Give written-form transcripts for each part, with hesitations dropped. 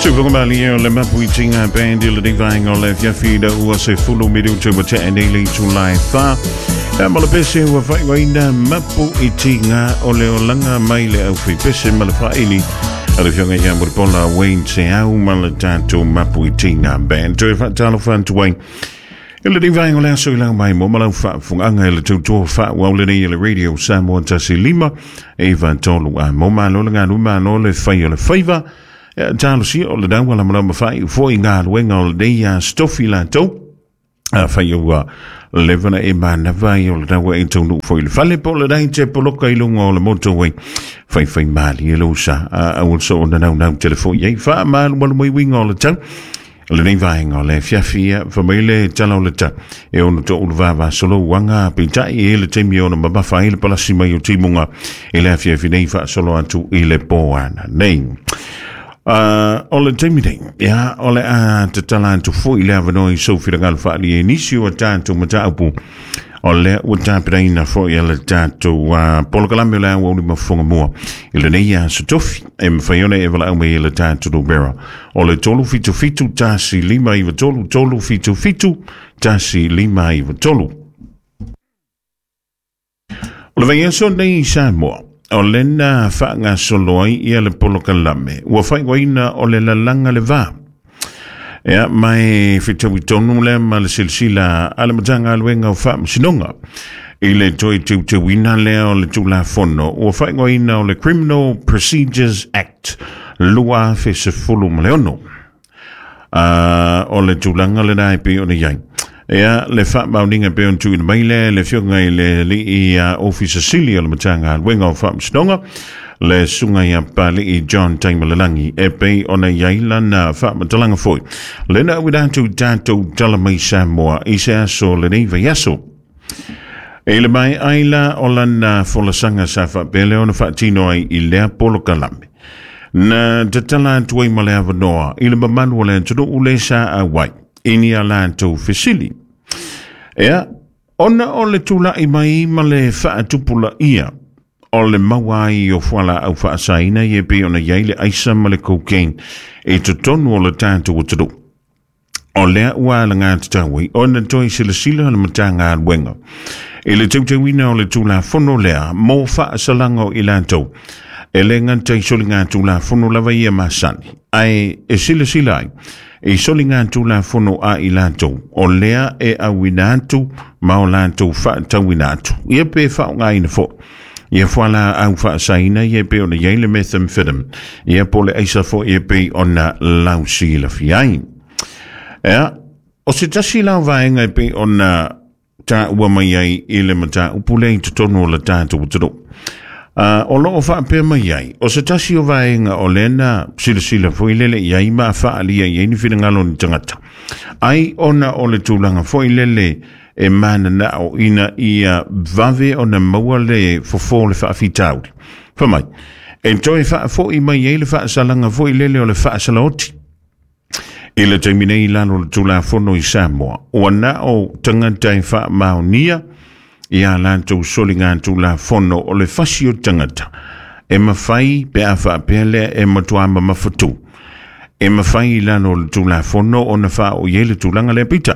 Tufugamali o le Mapuitinga Band i le vaenga o le afiafi ina ua 10 minutu ua tea nei le itula e 4. Ia ma le pese ua faaigoaina Mapuitinga o le olaga mai le aufaipese ma le faaili a le afioga ia Mulipola Wayne Seau ma le tatou Mapuitinga Band. Toe faatalofa atu ai i lenei vaega o le aso i lau mai mo ma lau faafofogaaga i le tautua faaauau lenei e le Radio Samoa 1 5 9 3 a mo malo le galu malo le fai o le faiva. Ia talosia o le daua la malama fai foi galuega o lenei aso tofi latou. A fai ua leva na e manava ai o le daua e taunuu foi i le fale po o le dai te poloka i luga o le moto ai. Fai fai mali e lausa a aua so o na naunau telefoni ai faamalumalu mai uiga o le tau. Lenei vaega o le afiafi ia, fai mai le tala o le tau. E ono toulu vavasolo uaga peitai e le taimi ona mamafa ai le palasi mai o timuga i le afiafi nei faasolo atu i le po ana nei. O le taimi nei, ia, o le a tatala atu foi le avanoa i sou finagalo faaalia i nisi o tatou mataupu o lea ua tapenaina foi e le tatou polokalame o le Aoauli Mafofoga Mua i lenei aso tofi e mafai ona e valaau mai i le tatou numera o le 377 1593 377 1593. O le vaiaso nei i Samoa, o lena faagasolo ai ia le polokalame ua faaigoaina o le Lalaga le Va. Ia, mai fetaui tonu lea ma le silasila a le Matagaluega o Faamasinoga i le toe teuteuina lea o le Tulafono ua faaigoaina o le Criminal Procedures Act 2016. O le tulaga lena e pei ona i ai. Ia, le faamaoniga e pei ona tuuina mai lea e le afioga i le alii Ofisa Sili o le Matagaluega o Faamasinoga, le susuga ia Papali'i John Taimalelagi, e pei ona i ai lana faamatalaga foi. Lena auina atu i tatou tala mai Samoa i se aso o lenei vaiaso. E le mai ai la o lana folasaga sa faapea lea ona faatino ai i lea polokalame. Na tatala atu ai ma le avanoa i le mamalu o le atunuu le sa auai i ni a latou fesili. Ea, ona o le tula'i mai ma le faatupulaia o le maua ai o fualaau faasaina ia e pei ona i ai le aisa ma le cocaine i totonu o le tatou atunuu. O lea ua alagatatau ai ona toe silasila le Matagaluega i le teuteuina o le Tulafono lea mo faasalaga o i latou e le gata i soligatulafono lava ia masani, ae e silasila ai i soligatulafono a i latou o lea e auina atu ma o latou faatauina atu ia pe faaaogaina foi ia fualaau faasaina ia e pei ona i ai le methamphetamine ia po o le aisa foi e pei ona lausilafia ai. Ea, o se tasi la o vaega e pei ona taua mai ai i le mataupu lea i totonu o le tatou atunuu. O loo faapea mai ai, o se tasi o vaega o lea na silasila foi lele i ai ma faaalia i ai ni finagalo o ni tagata. Ai ona o le tulaga foi lele e mananao ina ia vave ona maua le fofo o le faafitauli. Fai mai, e toe faafoi mai ai le faasalaga foi lele o le faasalaoti. I le taimi nei i lalo o le Tulafono i Samoa, ua na o tagata e faamaonia ia latou soligatulafono o le fasi o tagata e mafai pe a faapea lea e matua mamafatu. E mafai i lalo o le Tulafono ona faaoo i ai le tulaga lea peitai.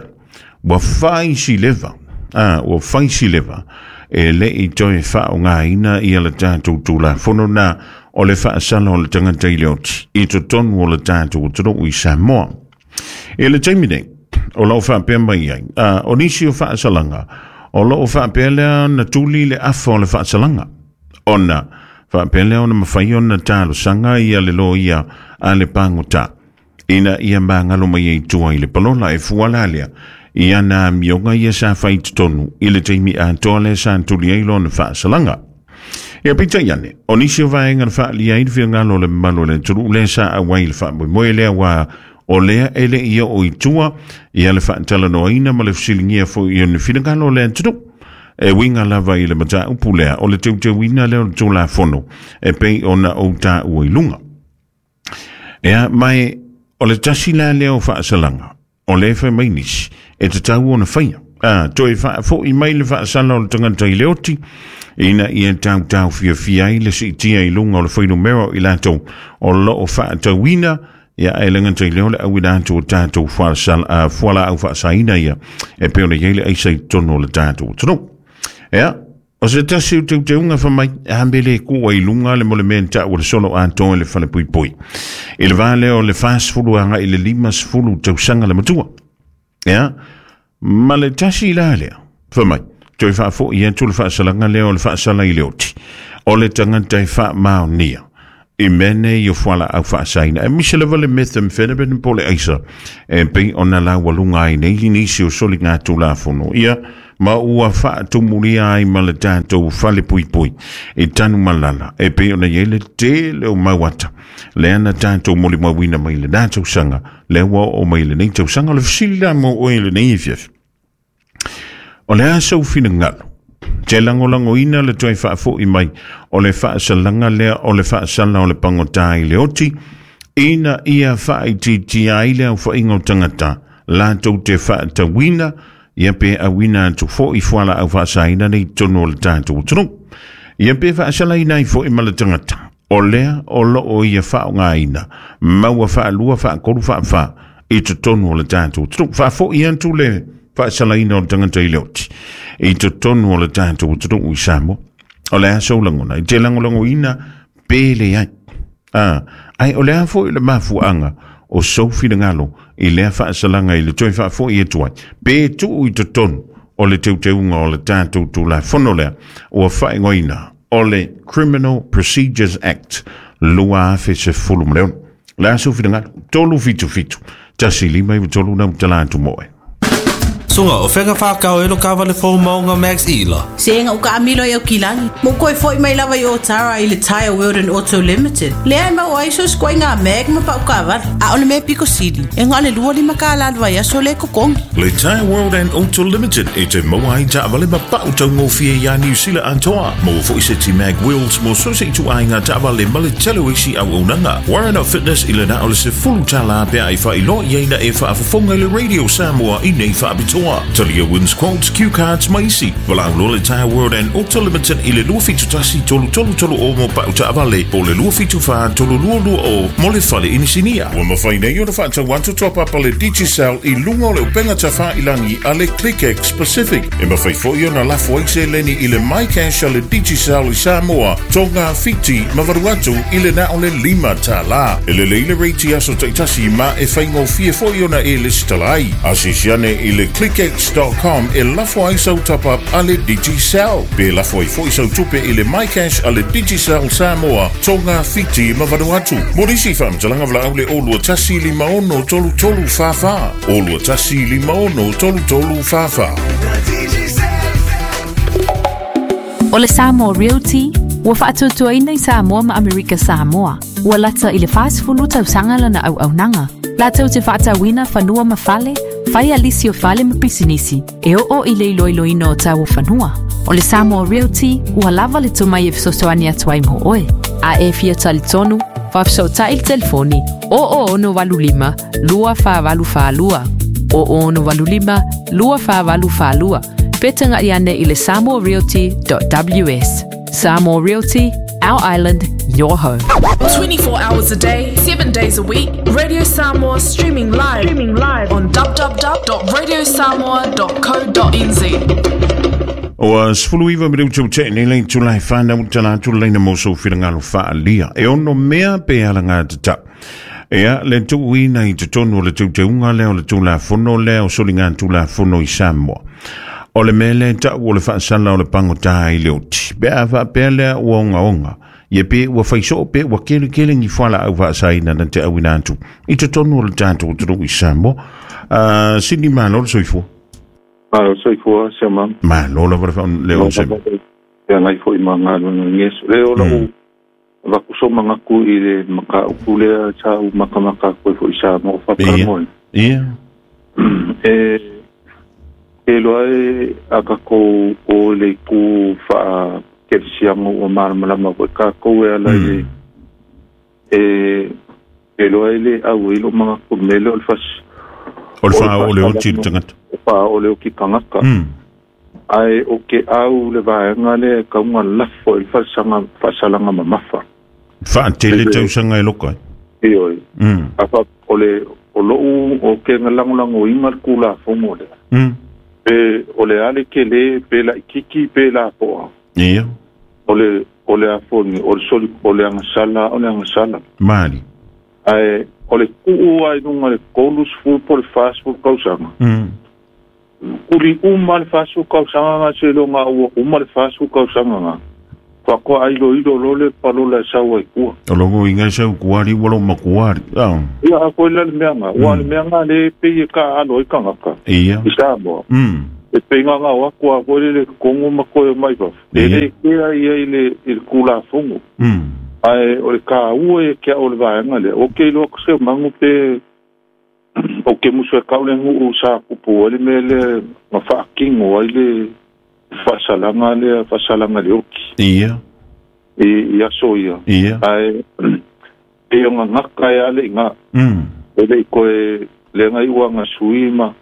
Ua fai si leva, ua fai si leva e le i toe faaaogaina ia le tatou Tulafono na o le faasala o le tagata i le oti i totonu o le tatou atunuu i Samoa. I le taimi nei, o lo o faapea mai ai, o nisi o faasalaga, o lo o faapea lea ona tuli le afa o le faasalaga, ona faapea lea ona mafai ona talosaga ia le loia a le pagota ina ia magalo mai ai tua i le palola e fua la lea i ana amioga ia sa fai i totonu i le taimi atoa lea sa tuli ai lona faasalaga. Ia peitai ane, o nisi o vaega na faaalia ai le finagalo o le mamalu o le atunuu lea sa auai i le faamoemoe lea ua o lea e le i oo i tua ia le faatalanoaina ma le fesiligia foi o ni finagalo o le atunuu. E uiga lava i le mataupu lea o le teuteuina lea o le Tulafono e pei ona ou taua i luga. Ea, mai o le tasi la lea o faasalaga, o lea e fai mai nisi, e tatau ona faia. Toe faafoi mai le faasala o le tagata i le oti, ina ia tautau fiafia ai le siitia i luga o le fuainumera o i latou o lo o faatauina Ia e le gata i lea o le auina atu o tatou fualaau faasaina ia e pei ona i ai le aisa i totonu o le tatou atunuu. Ia, o se tasi o teuteuga fai mai, a me le kua i luga le mo le mea na taua le solo atoa i le falepuipui. I le va lea o le 40 agai i le 50 tausaga le matua. Ia, ma le tasi la lea, fai mai, toe faafoi atu le faasalaga lea o le faasala i le oti, o le tagata e faamaonia i mea nei o fualaau faasaina, aemaise lava le methamphetamine po o le aisa, e pei ona laualuga ai nei nisi o soligatulafono, ia, ma ua faatumulia ai ma le tatou falepuipui i Tanumalala, e pei ona i ai le tele o mau ata, lea na tatou molimauina mai lena tausaga, lea ua oo mai lenei tausaga. O le fesili la mo oe i lenei afiafi, o le a sou finagalo? Te lagolagoina le toe faafoi mai o le faasalaga lea o le faasala o le pagota i le oti, ina ia faaitiitia ai le aofaiga o tagata latou te faatauina ia pe auina atu foi fualaau faasaina nei i totonu o le tatou atunuu. Ia pe faasalaina ai foi ma le tagata o lea o loo ia faaaogaina maua faalua faatolu faafa i totonu o le tatou atunuu. Faafoi atu le faasalaina o le tagata i le oti i totonu o le tatou atunuu i Samoa. O le a sou lagona i te lagolagoina pe leai. Ai o le a foi le mafuaaga o sou finagalo i lea faasalaga i le toe faafoi atu ai pe tuu i totonu o le teuteuga o le tatou Tulafono lea ua faaigoaina o le Criminal Procedures Act 2016. Le a sou finagalo? 377 159 nau tala atu mo oe. Suga, o fega whakao e lo kawale fō maunga Max Ila. Se nga uka amilo i au kilagi. Mo koe foi mai lava i Otara i le Tire World and Auto Limited. Lea e mau ai so skoe ngā mag ma pau kawale. A o le mea piko sili. E ngā le lua lima ka la vai aso le kokongi. Le Tire World and Auto Limited e te maua ai taavale ma pau taugofie iā Niu Sila atoa. Maua foi se ti mag wheels mo so se itu ai ngā taavale ma le tele o isi auaunaga. Warren Fitness i le na o le sefulu tālā pe ai whailoa i aina e whaafofonga i le Radio Samoa i nei whaapitoa. Talia wins quotes, cue cards ma isi. Walau loa le Tire World and Auto Limited i le 271 333 o mo pau taavale po le 274 322 o mo le fale inisinia. Ua mawhai nei o na whaatau atu toa papa le Digicel i lunga o le upenga tawha ilangi a le ClickX Pacific. E mawhai foi o na lafo ai se leni i le MyCash a le Digicel i Samoa, Tonga, Fiti, ma Vanuatu i le na o le lima tālā. E lele i le reiti aso taitasi ma e whaingofie foi ona e lesitala ai. Asisiane i le clickx.com e lafo ai sau top up a le Digicel. Pe lafo ai foi sau tupe i le MyCash a le Digicel Samoa, Tonga, Fiti, ma Vanuatu. Mo nisi whaamtalanga wala au le olua tasi lima ono tolu tolu wha wha. Olua tasi lima ono tolu tolu wha wha. O le Samoa Realty, ua faatuatuaina i Samoa ma Amerika Samoa. Ua lata i le 40 tausaga lana auaunaga. Latou te faatauina fanua ma fale, fai alisi o fale ma pisinisi, e oo i le iloiloina o tau o fanua. O le Samoa Realty, ua lava le tomai e fesoasoani atu ai mo oe. A e fia talitonu, faafesootai le telefoni 0085 2484 0085 2484 pe taga'i ane i le samoarealty.ws. Samoa Realty, our island, your home. 24 hours a day, 7 days a week, Radio Samoa streaming live on www.radiosamoa.co.nz. Ua 19 minutu te nei lei tulai whanau tala atu leina mo sou finagalo faalia. E ono mea pe ala ngā tata. Ea le tuuina i totonu o le teuteuga lea o le Tulafono lea o soligatulafono i Samoa. O le mea lea tau o le faasala o le pagota i le oti. Pe a faapea lea ua ogaoga, ia pe ua faisoo pe ua kelekele ni fualaau faasaina na te auina atu i totonu o le tatou atunuu i Samoa. Sini malo le soifua. Malo soifua, se ma. Malo lava le le onse. Ia ngai foi ma galuega ngeso. Le o lau vakuso mangaku i le mataupu lea sa u makamaka koe foi sa mo whakaramoe. Ia. E loa e a kakou o le ku wha kerisianga o malamalama koe kakou e ala i e loa e le au i lo mangaku mele o le fas. O le wha o le oti le tangata. O wha o le oki tangata. Ai o ke au le vaenga le kaunga lafo i le faasalaga mamafa. Faatele tausaga e loka ai. Ioe. Afa o le o lou o ke ngalangolagoina le kulafogo lea. Pe o le ale ke le pe la ikiki pe la poa. Ia. O le afoni o le soli o le agasala o le agasala. Mali. Ae o le kuu ai lunga le 30 po le 40 tausaga. Kuli uma le 40 tausaga nga se longa ua uma le 40 tausaga nga. Faatoa ai lo ilo le palola e sau ai kua. O logo inga sau kuari walo makuari. Ia a koe la le mea nga. Ua le mea nga le pei e ka alo i kangaka. Ia. I Samoa. E pei nga nga o aku a koe le kongo ma koe mai vafu. E le kea ia i le kulafogo. Ae o le ka ua e kia o le vaenga lea. O ke iloa se mangu pe o ke musu e kau le nguu sa kupu ai le mea le nga whaakingo ai le whasalanga le whasalanga le oki. Ia. I aso ia. Ia. Ae e o ngā ngaka e ale i ngā. E le i koe le ngai ua ngā sui ma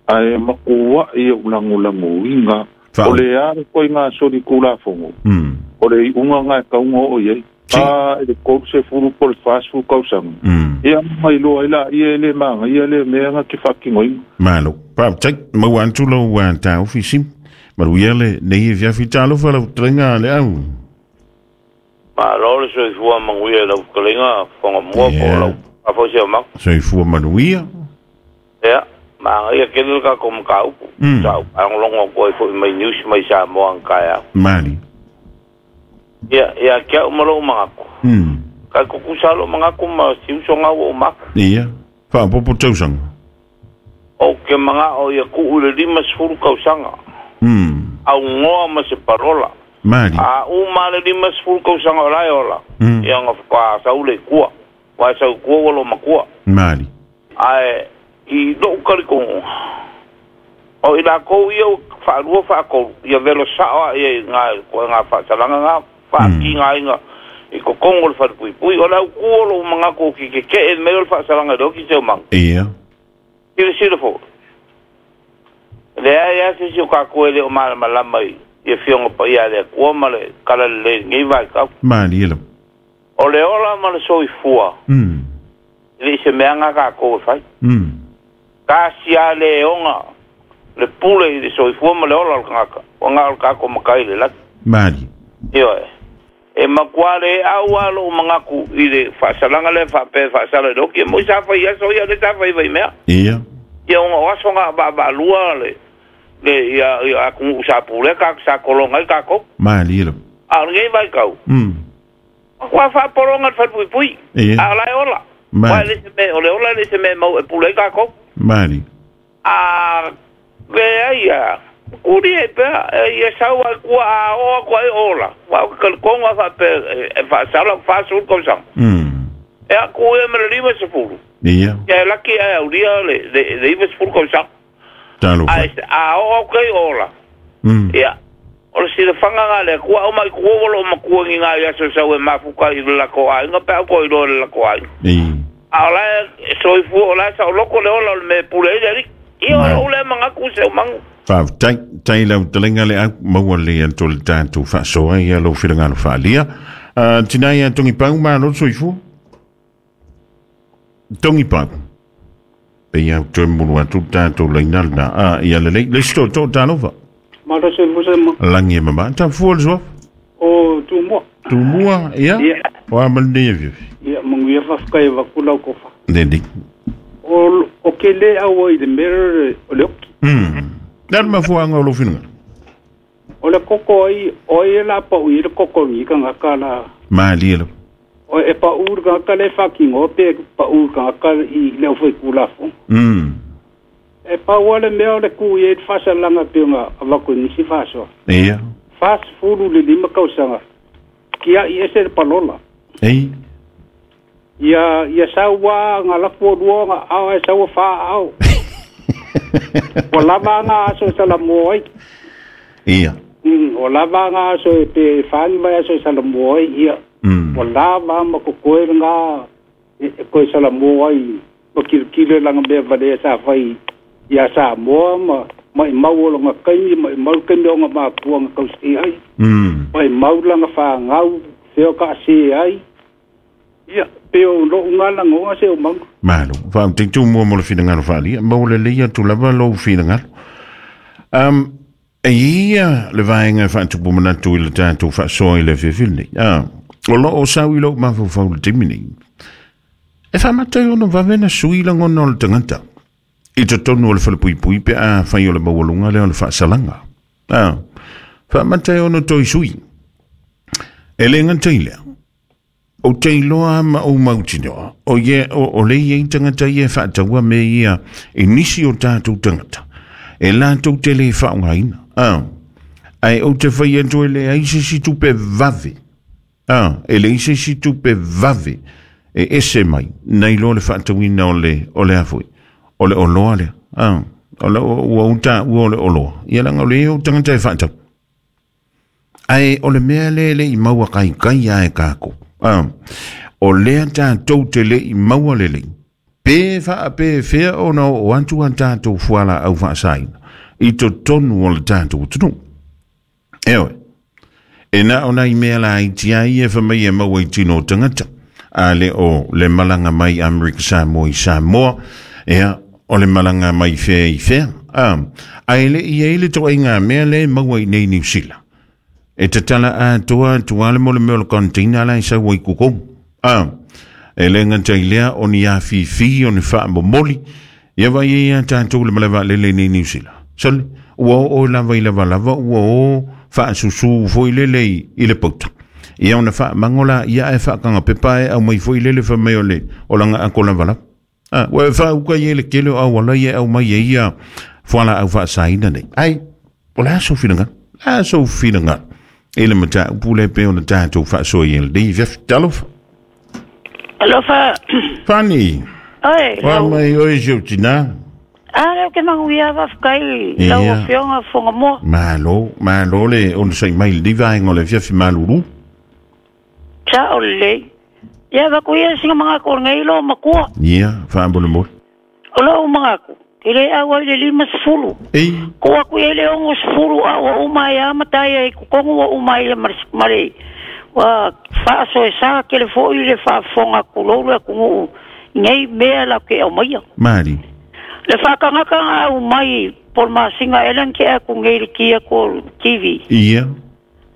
ae makua i o langolango i ngā. O le are koe ngā sori kulafongo. O le i unga ngā e kaunga o iei. A e le kolu se furu po le fāsfu kausanga. Ia mai loa ila ia le manga ia le mea ngā ke whakingo inga. Malo. Pau, tei, mau antu lau tā ofisi. Maruia le nei e fiafi talofa lau terenga le au. Ma lo le soifua manuia lau kalenga whanga mua po lau afosi o maku. Soifua manuia. Ia, ma ngai kele ka ko mka upu. Sa angolongo ko i foi mai news mai Samoa ang kaya. Mali. Ia, ia kia umalo mangaku. Ka kukusalo mangaku ma siuso ngau o maku. Ia, whaapopo tausanga. O ke manga o ia ku ule 50 kausanga. Au ngoa ma se parola. Mali. A uma le 50 kausanga o lai ola. Ia nga whaka saule kua. Wa sau kua walo makua. Mali. Ae, i lou kalikongo. O i la kou ia whaalua whaakolu. Ia velo saoa ia i ngā whaasalanga ngā whaaki ngā inga. I kokongo le wharipuipui. O lau kua lo mangako ki ke ke e meo le whaasalanga leo ki te o manga. Ia. Sila sila fo. Le ai a se si o kako ele o malamalama i ia fionga pa ia le kua ma le kala le ngai vai kau. Mali elo. O le ola ma le soifua. Le se mea ngā kako e whai. Ka sia le onga le pule i le soifua ma le ola o le kangaka. O ngā o le kako makai le laki. Mali. Io e. E makua le au alo o mangaku i le whaasalanga le whaape whaasala le oki. E moi sa whai aso ia le sa whai whai mea. Ia. Ia onga o aso ngā waalua le ia aku sa pule ka sa kolonga i kako. Mali elo. A ngai vai kau. Kua whaaporonga le wharipuipui. Ia. A lai ola. Mali. Le se me, o le ola le se me mau e pule i kako. Mali. A le ai kuri e pea ia sau ai kua a oa kua e ola. Wa o ka konga whaape e whaasala whaasul kausanga. E a kua e mele 50. Ia. Ia e laki e auria le 50 kausanga. Talo. A o kei ola. Ia. O le sila whanga ngā le kua o mai kua walo o makua ngi ngā ia so sau e mafuka i le lako ainga pea ko i loa le lako ainga. A o lae soifua o lae sa o loko le ola o le me pule i le rik. Ia o le mangaku se o mangu. Whaafutai, tai lau telenga le au maua le anto le tātou whaasoa ia lau whirangalo whaalia. Tinai a tongi pau mā lo soifua? Tongi pau. Pe ia toe mulu atu tātou leinal na. Ia le lei, le sito tō tālova. Malo soifua se ma. Langi e mama. Tā fua le soaf? O Tumua. Tumua, ia? Ia. O amal nei e viafi. Ia, manguia whawhkai e wakulau kofa. Nene. O ke le aua i le mere o le oki. Nā mafuanga o lo whinga? O le koko ai, o e la pau i le koko ngi ka ngaka la. Mali elo. O e pa ur ka ngaka le whakingo, pe pa ur ka ngaka i leo whai kulafo. E pa wale mea o le ku i e whasalanga pionga a wako nisi whasoa. Ia. Whas furu le 5 kausanga. Kia i ese le palola. Ei. Ia saua ngā lapu o lua ngā ao e saua wha ao. O lava ngā aso e sala mua ai. Ia. O lava ngā aso e pe whangi mai aso e sala mua ai. Ia. O lava ma kokoe ngā e koe sala mua ai. Ma kirikire langa mea vale e sa whai. Ia sa mua ma mai mau o longa kaimi, mai mau kaimi o ngā mākua ngā kausi ai. Mai mau langa wha ngau, whio ka se ai. Ia. pe o lo ngala ngonga se o mangu. Malo, fa te tu mo mo le finangalo falia, mo le leia tu lava lo finangalo. E ia le vaenga faatupu manatu i le tatou faasoa i le afiafi lenei. O loo o sau i lou mafaufau le taimi nei. E faamata ai ona vave na sui lagona o le tagata i totonu o le falepuipui pe a fai o le maualuga lea o le faasalaga. Faamata ai ona toe sui. E le gata i lea, o te iloa ma ou mautinoa, o ye o le iai tagata ia e faataua mea ia i nisi o tatou tagata, e latou te le faaaogaina. Ae ou te fai atu e leai se isi tupe vave. E leai se isi tupe vave e ese mai nai lo le faatauina o le o le a foi o le oloa lea. O le ua ou taua o le oloa. Ia leaga o le o tagata e faatau. Ae o le mea lea e le i maua kaikai lava e kākou. O lea tatou te le i maua lelei, pe faapefea ona oo atu a tatou fualaau faasaina i totonu o le tatou atunuu. Eoe, e na o nai mea laiti lava ia e fai mai e maua i tino o tagata, a le o le malaga mai Amerika Samoa i Samoa, ia, o le malaga mai fea i fea. Ae le i ai le toaiga mea lea e maua i nei Niu Sila. E tatala atoa atu lava le mo le mea o le container la e sau ai kukou. E le gata i lea o ni afifi o ni faamomoli, ia vaai ai ia tatou le malae vaalele i nei Niu Sila. Sole, ua oo lava i lavalava ua o faasusu foi lele i le pauta. Ia ona faamago la ia ae faakagapepa ae aumai foi lele fai mai o le o lana ako lavalava. Ua e faauka i ai le tele o auala ia e aumai ai ia fualaau faasaina nei. Ai, o le a sou finagalo? O le a sou finagalo i le mataupu lea pei ona tatou faasoa i ai lenei afiafi? Talofa. Alofa. Fanny. Oi. Oa mai oe si ou tinā. A lea ou te manuia faafetai i lau Afioga Fogamoa. Malo, malo le onosai mai i lenei vaega o le afiafi malulu. Sao lelei. Ia avatu ia sina manatu o lenei loo matua. Ia, faamolemole. O lou manatu, e le au ai le 50. Ei. Tuu atu i ai le 60 a ua uma ai lava matai ai i totonu ua uma ai ma le ua faasoesa tele foi le faafofoga tulou le atunuu i nei mea latou te aumaia. Mali. Le faatagata na aumai po o le masina ea lea na tea atu nei i le ki atu o le TV. Ia.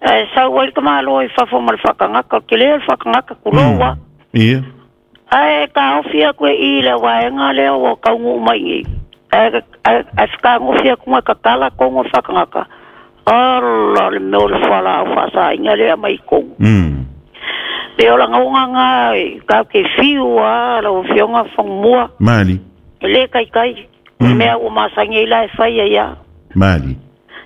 Ae sau ai le tamaloa i fafo ma le faatagata, o le tele o le faatagata, tulou a. Ia. Ae taofi atu e i le vaega lea ua taunuu mai nei. Ae ae fetagofi atu ma tatala tonu o le faatagata. Ala le mea o le fualaau faasaina lea mai tonu. Pei o lagona na tatou te fiu lava lau Afioga Fagumua. Mali. E le taitai. O le mea ua masani ai la e fai ai lava. Mali.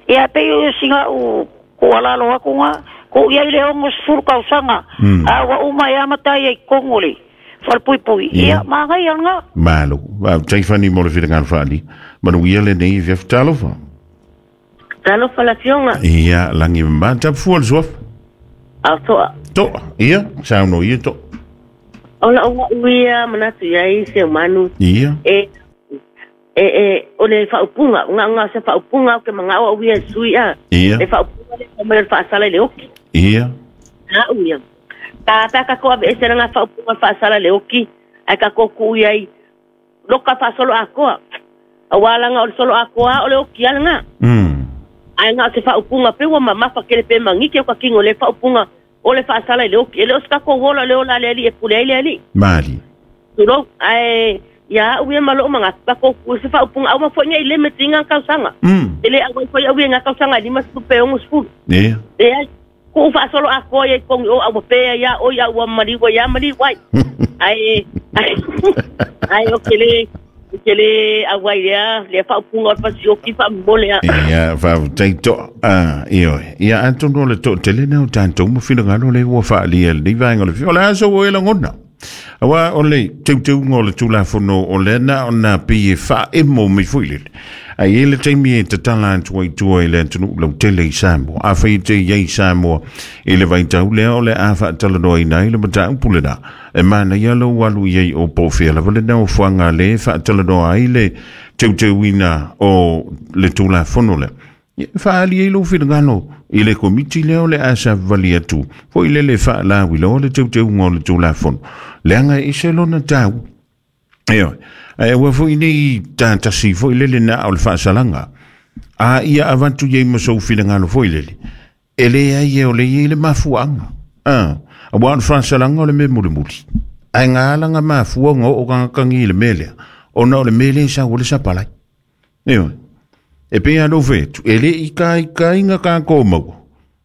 Ia pei o sina au tuualalo atu na, tuu i ai le 60 tausaga, a ua uma ai lava matai ai i totonu o le falepuipui, ia manaia lena. Malo. Faafetai Fanny mo le finagalo faaalia. Manuia lenei afiafi. Talofa. Talofa le afioga. Ia, lagi mama. Tapufua le suafa. A toa. Toa. Ia, saunoa ia toa. O lau au ia manatu i ai Seumanu. Ia. E e e o le faaupuga, o nga se faaupuga o ke mangao au ia e sui a. Ia. Le faaupuga le mai o le faasala i le oki. Ia. Au ia. Ka pea ka ko ave ese nga faaupuga faasala i le oki, ai ka ko ku i ai loka faasolo akoa. Aua langa o le solo akoa o le oki ala nga. Ai nga o se faaupuga pe ua mamafa kele pe mangike o ka kingo le faaupuga o le faasala i le oki. E le o se ka ko wola le ola le ali e pule ai le ali. Mali. Tulou, ae ia au ia ma lou manatu, ka ko ku se faaupuga au ma foi ngai le metinga kausaga. E le au ai foi au ia nga kausaga e 50 pe 60. Ia. E ai, ku faasolo akoa ia i kongi o au pe ia o ia ua maliu ia maliu ai. Ae ai o ke le ke le au ai lea le faaupuga o le fasioki faamomole a. Ia, faafetai toa. Ioe. Ia, atonu o le toatele lena o tatou ma finagalo lea ua faaalia i lenei vaega o le O le a sou oe lagona? Aua o le teuteuga o le Tulafono o lea na ona pei e faaemo mai foi lele. Ae i ai le taimi e tatala atu ai tua i le atunuu lautele i Samoa. Afai e te i ai i Samoa i le vaitau lea o le a faatalanoaina ai le mataupu lena, e manaia lou alu i ai o po o fea lava le nofoaga lea e faatalanoa ai le teuteuina o le Tulafono lea. Ia faali ai lou finagalo i le komiti lea o le a savavali atu foi lele faalauiloa le teuteuga o le Tulafono leaga e ese lona taua. Ioe, ae aua foi nei tatasi foi lele na o le faasalaga a ia avatu iai ma sou finagalo foi lele e leai e o le iai le mafuaaga. Aua o le faasalaga o le mea mulimuli ae ga alaga mafua ona oo kagakagi i le mea lea ona o le mea lea e sau o le sapalai. Ioe, e pei lava lou fai atu e le i kaikaiga tatou maua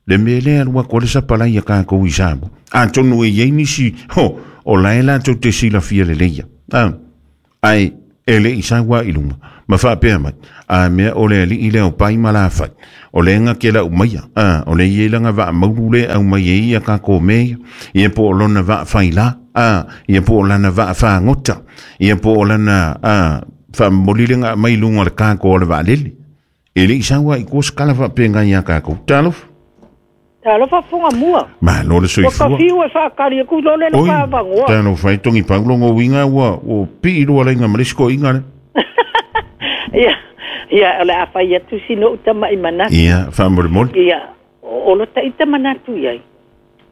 le mea lea alu atu ai le sapalai ia tatou i Samoa. Atonu e iai nisi ho o lae latou te silafia lelei ae e le i sau lava i luga ma faapea mai a mea o le alii lea o pai ma lafai o le ga ke lau maia o le iai laga vaamaulu le au mai ai ia tatou mea ia ia po o lona vaafaila ia po o lana vaafagota ia po o lana faamomoli le ga mai luga o le kako o le vaalele. E le i sau lava i tua se tala faapena ia tatou. Talofa. Talofa funga mua. Malo le soifua. Ua kafiu e whaakari aku lo le Oi, whavangoa. talofa e tongi paulo ngo winga ua o pii lua lainga ma le isi koiga le. Ia, ia, o le a whai atu sino utama i manatu. Ia, faamolemole. Ia, o lo taita manatu iai.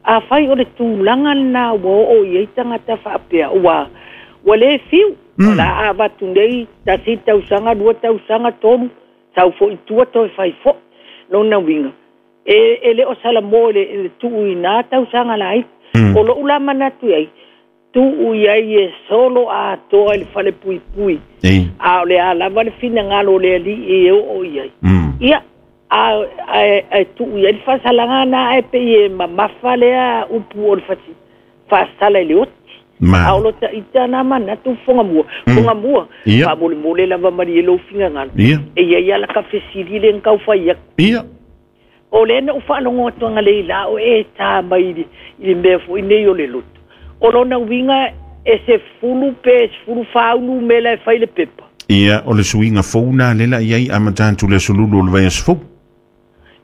A whai o le tūlanga na ua o i ai tangata whaapea. Ua, ua le fiu. O la a watu nei, tasi tausanga, lua tausanga, tolu, sau fo i tua toi whai fo. Lona winga. E le o sala mo le tuu i nā tausanga lai. O lo ula manatu iai, tuu iai e solo a toa i le fale pui pui. A o le a lava le finagalo o le alii e oo iai. Ia, a tuu iai le faasalanga na e pe i e mamafa lea upu o le fasi faasala i le oti. A o lo taita na manatu fonga mua. Fonga mua, faamolemole lava mali e lou finagalo. E iai ala ka fesili le nkau fai aku. Ia. O le na uwhaalongo atuanga le ila o e tā mai i le mea fo i nei o le loto. O lona winga e se fulu pe, se fulu whaunu me la e whai le pepa. Ia, o le suiga fou na lela iai a matātu le sululu o le vaiaso fou.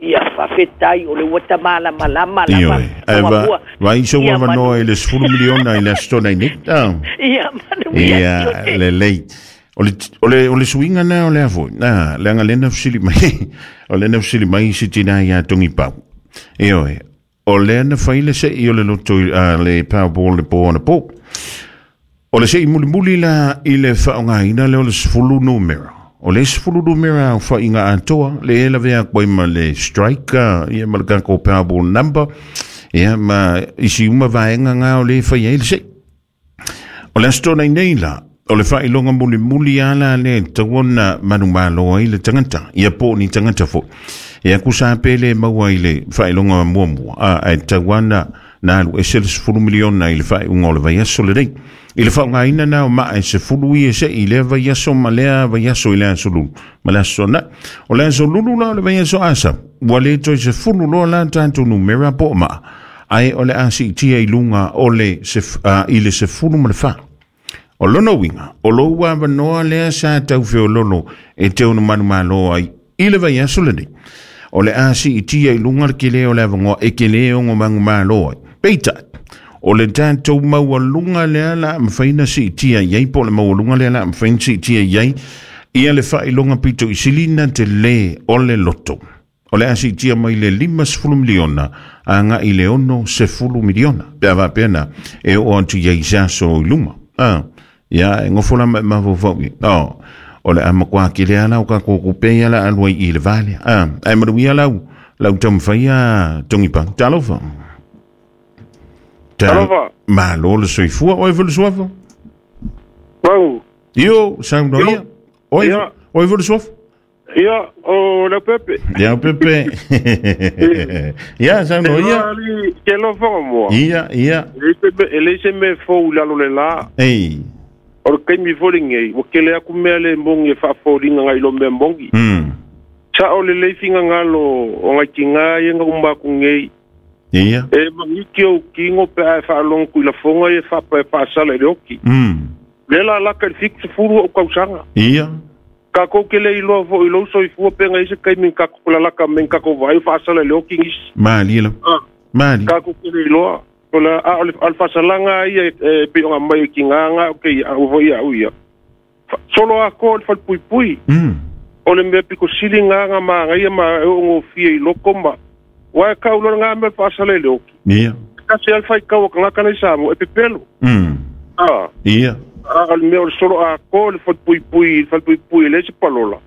Ia, whawhetai o le uata malama lama lava. Ioe, ae va, vai so Ia, avanoa i le 10 miliona i le aso tona i nei. Ia, manu ia Ia, tiote. lelei. O le suiga na o le a foi. Na, leaga lena fesili mai. O lena fesili mai si tina ia tongi pau. Ioe, o lea na fai le sei o le loto i, le Powerball le po ona po. O le sei mulimuli la i le faaaogaina lea o le 10 numera. O le 10 numera au faiga atoa le e lavea koe ma le strike ia ma le kako Powerball number ia ma isi uma vaega ngā o le fai ai le sei. O le aso tona i nei la, o le faailoga mulimuli ala le tauona manumalo ai le tagata ia po o ni tagata foi. Ia kusa pele maua i le faailoga muamua ae tauana na alu ese le 10 miliona i le faaiuga o le vaiaso lenei. I le faaaogaina na o maa e sefulu ia se'i i lea vaiaso ma lea vaiaso i le aso lulu ma le aso na. O le aso lulu la o le vaiaso asa ua le toe sefulu loa la tatou numera po o maa ae o le a siitia i luga o le i le sefulu ma le fa. O lona uiga, o lou avanoa lea sa taufeololo e te ono manumalo ai i le vaiaso lenei. O le a siitia i luga le kele o le avanoa e kele ono manumalo ai. Peitai, o le tatou maualuga lea la mafaina siitia iai po o le maualuga lea la mafaina siitia iai ia le faailoga pito i silina te lē o le loto. O le a siitia mai le 50 miliona a agai i le 60 miliona. Pe a faapea e oo atu iai i se aso i luma. Ia e gofo lama e mafaufau i. O le a makuā kele ala o kakou kupe ia la alu ai i le valea. Ae manuia lau lau taumafai tongi pau. Talofa. Talofa. Malo le soifua oe foi le suafa. Pau. Io, saunoa ia. Oe, Ia. oe foi le suafa. Ia, o le Pepe. Ia Pepe. Ia, saunoa ia. Ke lo whanga mua. Ia, ia. E le se me fou lalo le la. Ei. O le kaimi fo le ngei. Wa kele aku mea le mongi e whaafauringa ngai lo mea mongi. Sa o le leifinga ngalo o ngai ki ngā ia ngā umaku ngei. Ia. E mangiki au kingo pe ae whaalongo kui la fonga e whapa e whaasala i le oki. Le la laka i fiku se furu o kausanga. Ia. Ka kou ke le iloa fo i lou soifua pe ngai se kaimi ka kula laka men ka kou vai whaasala i le oki ngisi. Mali la. Mali. Ka kou ke le iloa. O la a o le alfasalanga ia e pe o ngā mai ki ngā ngā o ke au fo ia au ia. Solo a ko le whalpui pui. O le mea piko sili ngā maangaia ma e o ngōfia i loko ma. Wa e kau lona ngā mea whaasala i le oki. Ia. Kasi al whai kau kangaka nei Samoa e pepelo. Ah. Ia. A le mea o le solo a ko le whalpuipui le se palola.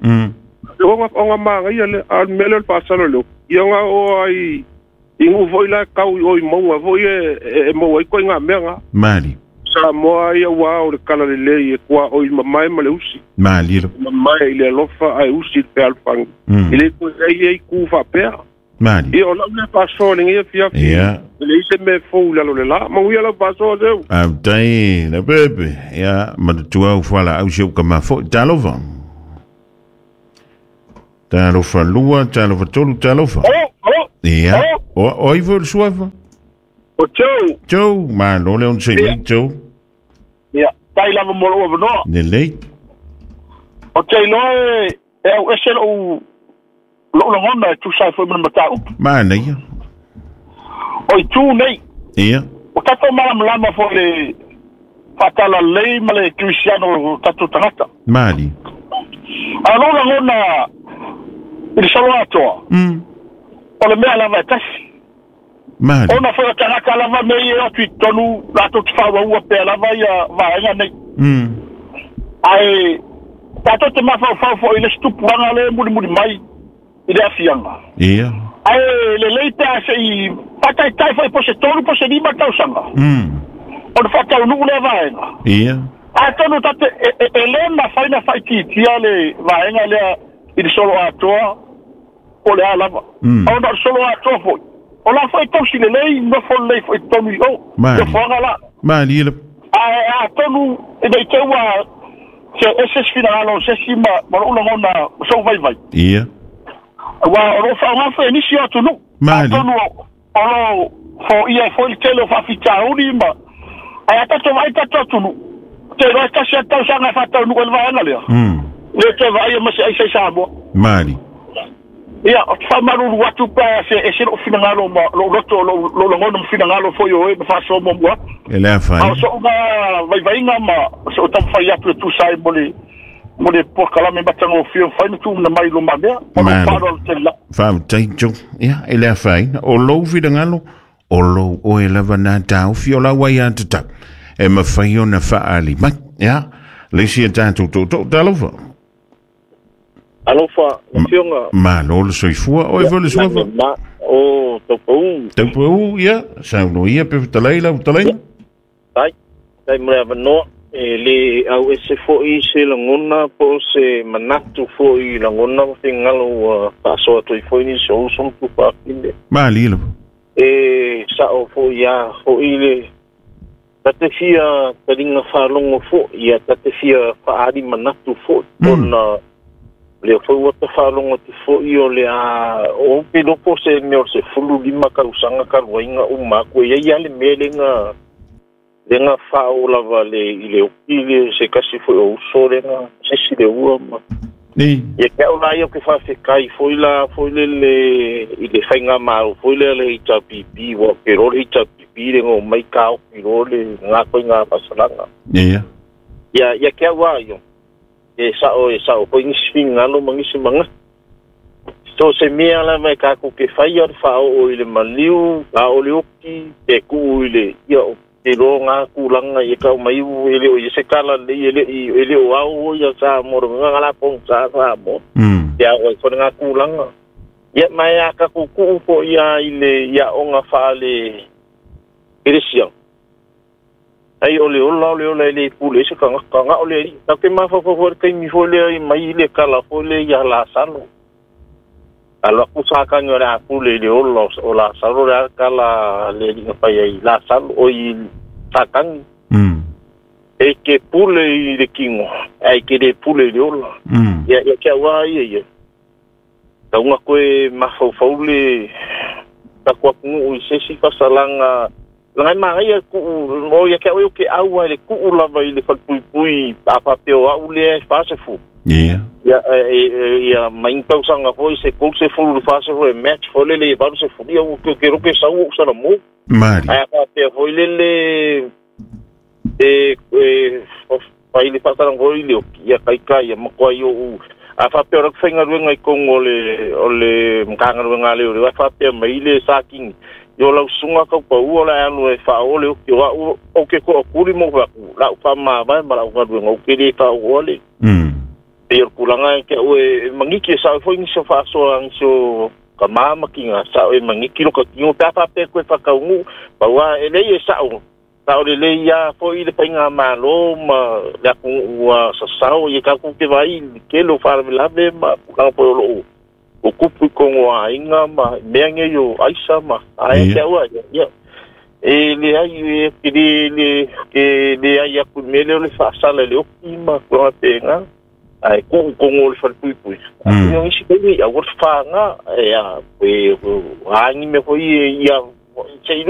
O ngā maangaia le a le mea le o le whaasala le oki. Ia ngā o ai i ngu foi la kau i oi maunga foi e maua ai koe ngā mea ngā. Mali. Samoa ia ua o le kala le lei e kua oi mamae ma le usi. Mali. Mamae i le alofa ai usi i le pealfangi. I le koe ai ei ku whapea. Mali. Ia o lau le whasoa le ngia fiafi. Ia. Le ise me fou lalo le la. Manguia lau whasoa seu. Au tai le pepe. Ia, manatua au whala au seu ka mafo. Talofa. Talofa lua, talofa tolu, talofa. Alo, Ia. O i le suafa? O tau. Tau, ma lo le on se mai tau. Ia, tai lava mo lou avanoa. Ne lei. O te iloa e au ese lou lagona e tusa ai foi ma le mataupu. Manaia. O itu nei. Ia. O tatou malamalama foi le faatalalelei ma le kerisiano o tatou tagata. Mali. A lou lagona i le solo atoa. O le mea lava e tasi. Mali. Ona foi o tagata lava mea ia e atu i totonu latou te faaauaua pea lava ia vaega nei. Ae tatou te mafaufau foi i le situpuaga le mulimuli mai i le afiaga. Ia. Ae lelei pe a se'i faataitai foi po se 3 po se 5 tausaga. Ona faataunuu lea vaega. Ia. Atonu tate e le mafai na faaitiitia le vaega lea i le solo atoa o le a lava. Ona o le solo atoa foi. O la foi tausi lelei nofo lelei foi totonu i o. Nofoaga la. Mali le. Ae atonu e nei te ua se ese se finagalo o sesi ma lou lagona sou vaivai. Ia. Ua o loo faaaoga foi e nisi o atunuu. Atonu o loo foia foi le tele o faafitauli ma ae a tatou vaai tatou atunuu. Te iloa e tasi a tausaga e faataunuu ai le vaega lea. Le toe vaaia ma se aisa i Samoa. Mali. Ia, o te faamalulu atu pe a se ese lou finagalo ma lou loto lou lagona ma finagalo foi o e ma faasoa muamua atu. E le afai. A o so'uga vaivaiga ma so'u taumafai atu e tusa ai mo le polokalame matagofie mafai na tuuna mai i lomamea. O lou faaaloalo tele lava. Faafetai tau. Ia, e le afaina. O lou finagalo, o lou oe lava nā tāofi o lau ai a tatau. E mawhai ona whaali mai. Ia, le isi e tātou tōtō. Talofa. Alofa, fionga. Malo le soifua. Oe foi le suafa. O, taupau. Taupau, ia. Sauno ia, pe whatalai lau whatalai. Tai, tai mo le avanoa. E le au ese foi se lagona po se manatu foi lagona ma fingalo ua faasoa atu ai foi nisi o uso ma tufaafine. Mali lava. E sa'o foi ia foi le tate fia taliga faalogo foi ia tate fia faaali manatu foi ona lea foi ua tafaalogo atu foi o le a o pe loko se mea o se 15 tausaga talu uma atu e iai a le mea lega fao lava le i le oki le se kasi foi o uso lega sesi le ua ma. Ni. Ia ke au la ia ke whawhekai foi la foi le i le whainga māro foi le le HRPP wa ke ro le HRPP le ngō mai ka oki ro le ngā koe ngā pasalanga. Ia. Ia ke au a io. E sao foi ngisi fingalo ma ngisi manga. So se mea la mai ka ku ke whai o whao o i le maliu, a o le oki, te ku i le ia o te ro ngā kūlanga i kau mai u e le o i se kala le e le o au o ia sa moro ngā la pong sa sa mo. Te au i kore ngā kūlanga. Ia mai a ka kuku po ia i le ia o ngā whaale eresia. Ai o le ola o le ola e le pule se ka ngā o le ri. Tau ke mawhawhawhau le kaimi fo le i mai i le kala fo le ia la salo. Alo aku saka nyo le aku le le ola o la salo le kala le linga pai ai la salo o i sakangi. E ke pule i le kingo, ai ke le pule i le ola. Ia kia wā ia ia. Taunga koe mawhauwhau le taku akungu i sesi fasalanga. Langai marai ku o ia kia oe o ke aua le kuu lava i le whalpuipui a papeo au le whasefu. Yeah. Ia ia main tausaga foi se kou se fulu fase foi match foi le valu se fulu ia o ke roke sau o sala mo. Mari. Ai ka te foi le e pai le fasala foi le ia kai kai ia makoa i o A faapea o le faigaluega i togu o le Matagaluega a Leoleo, ae faapea mai le Satini, i o lau susuga taupaua o le a alu e faaoo le oki o a'u ou te to'atuli ma ou fai atu la'u faamavae ma la'u galuega ou te lē faaooa le pei o le tulaga e te a'u e magiki e sa'o ai foi nisi o faasoa nisi o tamā ma tiga sa'o e magiki lo tatino pe a faapea toe faataunuu pau a e lei e sa'o sa'o lelei a foi le faigamālō ma le atunuu ua sasao ia tatou te vaai i le tele o faalavelave ma tulaga foi o loo o tupu i totonu o aiga ma mea nei o aisa ma ae te a'u a ia e leai e te le te leai atu i le mea lea o le faasala i le oki ma tulaga pena ae tuu i totonu o le falepuipui o nisi taimi aua le fafaga e a e a ni mea foi ia seʻi.